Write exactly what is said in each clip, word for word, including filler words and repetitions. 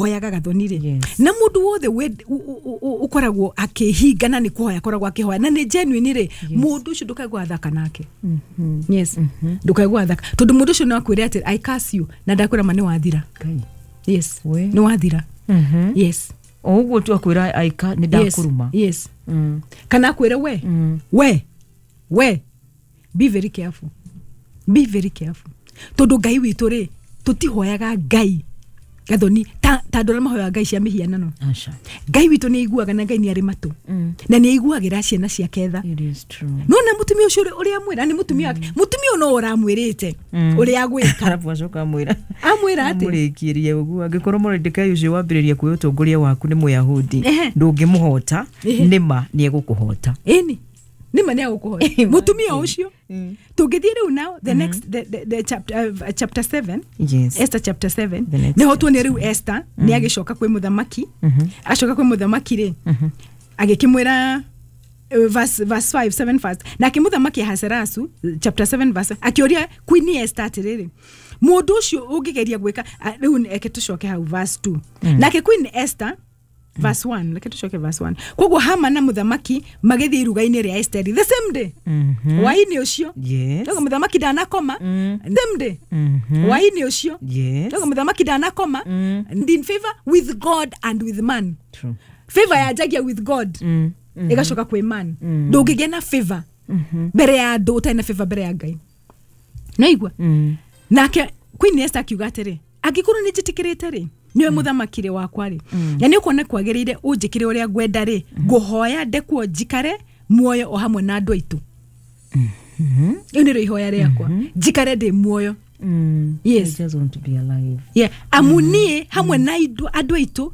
ũhoyaga, Gathoni rĩ, Yes. na mũndũ wothe wend- ũ- ũ- ũ- ũkoragwo akĩhingana nĩ kũhoya akoragwo akĩhoya na nĩ genuine rĩ, mũndũ ũcio ndũkae gwathaka nake. Yes, ndũkae gwathaka, tondũ mũndũ ũcio no akwĩre atĩ, "I curse you," na ndakwĩra ma nĩ wathira. Ngai. Yes. We. Nĩ wathira. Mhm. Yes. O ũguo tu akwĩra aika nĩ ndakũruma. Yes. Mm. Kana akwĩre we, Mm. we we be very careful, be very careful, tondũ Ngai witũ rĩ, tũtihoyaga Ngai, Gathoni, ta ta andũ arĩa mahoyaga ngai cia mĩhianano. Aca. Ngai witũ nĩ aiguaga, na Ngai nĩ arĩ matũ Mm. na nĩ aiguagĩra ciana ciake tha. It is true. Nona mũtumia ũcio ũrĩa- ũrĩa amwĩra nĩ mũtumia wake, mũtumia ũyũ no ũramwĩrĩte Mm. ũrĩa agwĩka. Arabu acoka amwĩra Amwĩra atĩ amũrĩkĩrie ũguo, angĩkorwo Moridekai ũcio wambĩrĩria kwĩ ũtongoria waku nĩ Mũyahudi, Ehe. ndũngĩmũhota. Ehe. Nĩma nĩ egũkũhota. Ĩni nĩma nĩ agũkũhota mũtumia ũcio. Tũngĩthiĩ rĩu now the next the, the, the chapter, uh, chapter seven. Yes. Esther chapter seven. The next. Nĩho tuone rĩu Esther nĩ agĩcoka kwĩ mũthamaki. Acoka kwĩ mũthamaki rĩ, agĩkĩmwĩra uh, verse, verse five seven first. Nake mũthamaki Ahasuerus, chapter seven verse, akĩũria Queen Esther atĩrĩrĩ, mũndũ ũcio ũngĩgeria gwĩka a- rĩu eke tũcoke hau verse two. Nake Queen Esther, verse one, reke tũcoke verse one. Koguo Haman na mũthamaki magĩthiĩ iruga-inĩ rĩa Esteri the same day, Mhm. hwaĩ-inĩ ũcio. Yes. Koguo mũthamaki ndanakoma. Same day, Mhm. hwaĩ-inĩ ũcio. Yes. Koguo mũthamaki ndanakoma. And in favor with God and with man. True. Favor yanjagia with God, Mm. ĩgacoka kwĩ man. Ndũngĩgĩa na favor mbere ya andũ ũtarĩ na favor mbere ya Ngai, naigua? Mm. Nake Queen Esther akiuga atĩrĩ, angĩkorwo nĩ njĩtĩkĩrĩte rĩ, nĩwe mũthamaki rĩ wakwa rĩ, na nĩ ũkuona kwagĩrĩire ũnjĩkĩre ũrĩa ngwenda rĩ, ngũhoya ndekwo njikare muoyo o hamwe na andũ aitũ. Rĩu nĩrĩo ihoya rĩakwa, njikare ndĩ muoyo. Mm. Yes. I just want to be alive. Yeah. Amu niĩ hamwe na indo- andũ aitũ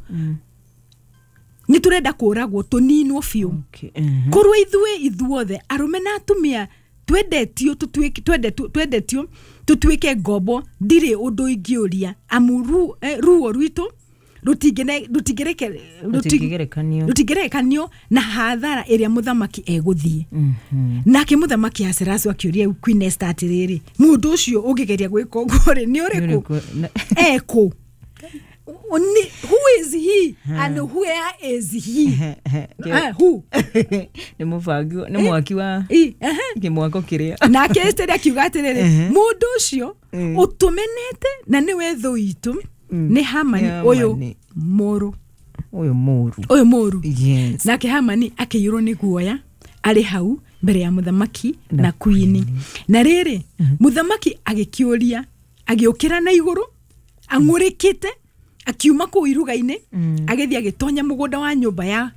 nĩ tũrenda kũragwo tũninwo biũ. Okay. Mhm. Korwo ithuĩ ithuothe arũme na atumia twendetio tũtuĩke- twendetio twendetio tũtuĩke ngombo, ndirĩ ũndũ ingĩũria, amu ru, eh, ruo rwitũ rũtingĩne- rũtingĩreke- rũti- Rũtingĩgerekanio. rũtingĩgerekanio na hathara ĩrĩa mũthamaki egũthiĩ. Mhm. Nake mũthamaki Ahasuerus akĩũria Queen Esther atĩrĩrĩ, mũndũ ũcio ũngĩgeria gwĩka ũguo rĩ, nĩ ũrĩkũ? Ũrĩkũ? Na- Ekũ? Ni- who is he and where is he? Ah, who? Nĩ mũbangi, nĩ mwaki wa I, ehe. kĩmwako kĩrĩa. Nake Esther akiuga atĩrĩrĩ, Ehe. mũndũ ũcio Mm. ũtũmenete na nĩwe thũ itũ nĩ Hamani Nĩ ũyũ Hamani. mũũru. Ũyũ mũru. Ũyũ mũũru. Yes. Nake Hamani akĩiyũrwo nĩ guoya arĩ hau mbere ya mũthamaki na queen. Na rĩrĩ, mũthamaki agĩkĩũria, agĩũkĩra na igũrũ ang'ũrĩkĩte, akiuma kũu iruga-inĩ, agĩthiĩ agĩtonya mũgũnda wa nyũmba ya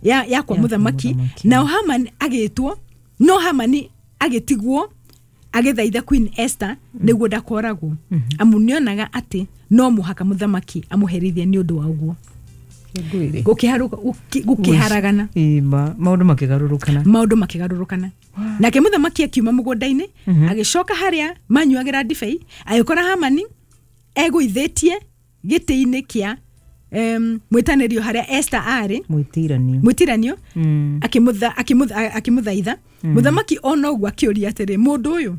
ya, ya kwa Ya kwa mũthamaki. mũthamaki. Nao Haman agĩtwo, no Hamani agĩtigwo agĩthaitha Queen Esther nĩguo ndakoragwo, amu nĩonaga atĩ no mũhaka mũthamaki amũherithie nĩ ũndũ wa ũguo. Ngwĩre. Gũkĩharũka- gũkĩ- gũkĩharagana. Ĩma maũndũ makĩgarũrũkana. Maũndũ makĩgarũrũkana. Nake mũthamaki akiuma mũgũnda-inĩ, agĩcoka harĩa manyuagĩra ndibei, agĩkora Hamani egũithĩtie gĩtĩ-inĩ kĩa em, mwĩtanĩrio harĩa Esther arĩ. Mwĩtiranio. Mwĩtiranio. Mm. akĩmũtha- akĩmũtha- akĩmũthaitha Mũthamaki ona ũguo akĩũria atĩrĩ, mũndũ ũyũ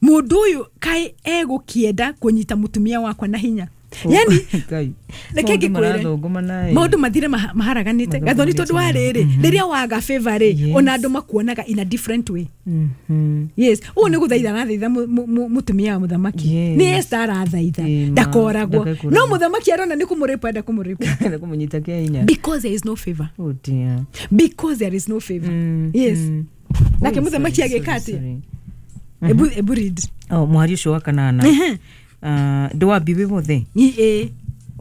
mũndũ ũyũ kaĩ egũkĩenda kũnyita mũtumia wakwa na hinya? Yani Ngai. reke Maũndũ ngĩkwĩre, marathũngũmana ĩ. maũndũ mathire maha- maharaganĩte, Gathoni, tondũ wa rĩrĩ, rĩrĩa waga favor rĩ, Yes. ona andũ makuonaga in a different way. Mhm. Yes, ũũ nĩ gũthaitha arathaitha mu- mu- mu- mũtumia wa mũthamaki. Yes. Nĩ Esther arathaitha Ĩma, ndakoragwo. ndakekũragwo. No mũthamaki arona nĩ kũmũrĩpa, enda kũmũrĩpa. Nĩ kũmũnyita kĩa hinya. Because there is no favor. Oh dear. Because there is no favor. Mm, Yes. mm. Nake Oh, mũthamaki sorry, agĩka sorry, atĩa? sorry. Ebu ebu read. Oh, mwari ũcio wa kanana. Ehe. Ah, ndĩwambi wĩ wothe. Ĩ- ĩ.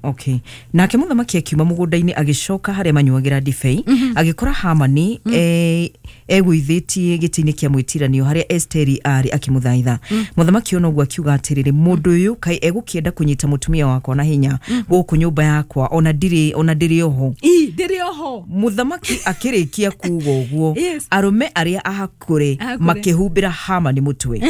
Okay. Nake mũthamaki akiuma mũgũnda-inĩ, agĩcoka harĩa manyuagĩra ndibei, agĩkora Hamani eh, egũithĩtie gĩtĩ-inĩ kĩa mwĩtiranio harĩa Esteri arĩ akĩmũthaitha. Mũthamaki ona ũguo akiuga atĩrĩrĩ, mũndũ ũyũ kaĩ egũkĩenda kũnyita mũtumia wakwa na hinya gũkũ nyũmba yakwa ona ndirĩ ona ndĩrĩ oho? Ĩ, ndĩrĩ oho. Mũthamaki akĩrĩkia kuga ũguo, Yes. arũme arĩa ahakũre Ahakũre. makĩhumbĩra Hamani mũtwe.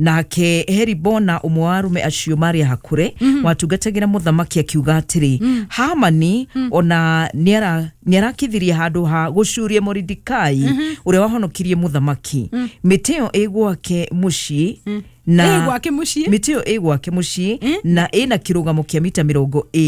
Nake Heribona, ũmwe wa arũme acio marĩ ahakũre watungatagĩra mũthamaki, akiuga atĩrĩ, Hamani ona nĩara- nĩarakithirie handũ ha gũcuria Moridikai ũrĩa wahonokirie mũthamaki mĩtĩ ĩyo ĩ gwake mũciĩ na Ĩ gwake mũciĩ. Mĩtĩ ĩyo ĩ gwake mũciĩ na ĩna kĩrũgamo kĩa mita mĩrongo